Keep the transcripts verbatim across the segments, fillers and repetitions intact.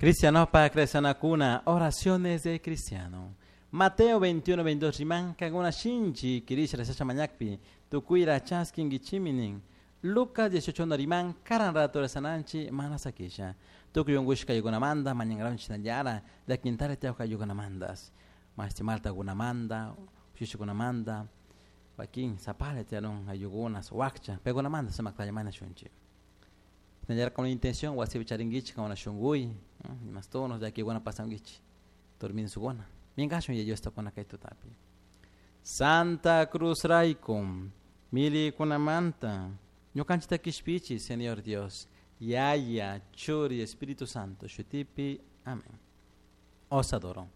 Cristianopa cristianakuna, oraciones de cristiano. Mateo veintiuno, veintidós riman, kankuna shinchi kirisha rezasha mañakpi, tukuyra chaskinkichimi. Lucas dieciocho uno riman, karan rato rezananchi mana sakisha. Tukuy unkushka ayukunamanta, mañankaranchik shinallara, llaquintara tiyawka ayukunamantas. Mashti maltakunamanta, ushushikunamanta, wakin sapala tiyarun ayukunas, wakcha, paykunamanta sumakta mañashunchik. Shinallara con la intención wasipi charinkichik kankuna shunkuy, imastunos llakikuna pasankichik, durminsukuna. Minkashun Yaya Diosta kuna kay tutapi. Santa Cruz rayku, milikunamanta, ñukanchikta kishpichi, Señor Dios, Yaya, Churi, Espíritu Santo, shutipi, amén. Os adoro.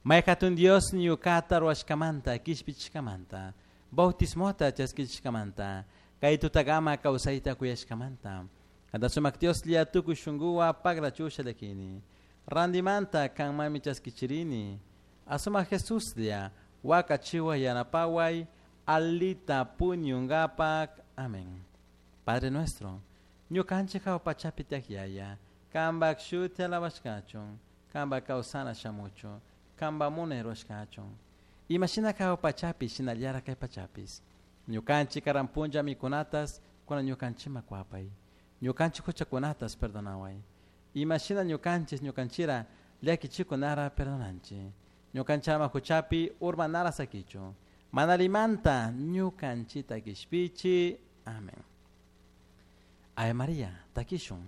May hatun Dios ñukata ruwashkamanta, kishpichishkamanta, bautismota chaskichishkamanta, kay tutakama kawsayta kuyashkamanta. Kanta sumak Dios lia tukuy shunkuwa pagrachusha llakini. Randimanta kanmami chaskichirini. Asumak Jesús lia wakachiwa yanapaway alita puñungapak. Amén. Padre nuestro, ñukanchik hawa pachapi tiyak Yaya, kanpak shuti alabashkachun, kanpak kawsana shamuchun, kanpak munay rurashkachun. Imashina hawa pachapi shinallara kay pachapis. Ñukanchik karan punlla mikunatas kuna ñukanchikman kuwapay. Ñukanchik huchakunatas perdonaway. Imashina ñukanchik ñukanchira llakichikunara perdonanchik. Ñukanchama huchapi urmanara sakichu. Manalimanta ñukanchita kishpichi. Amén. Ave María, takishun.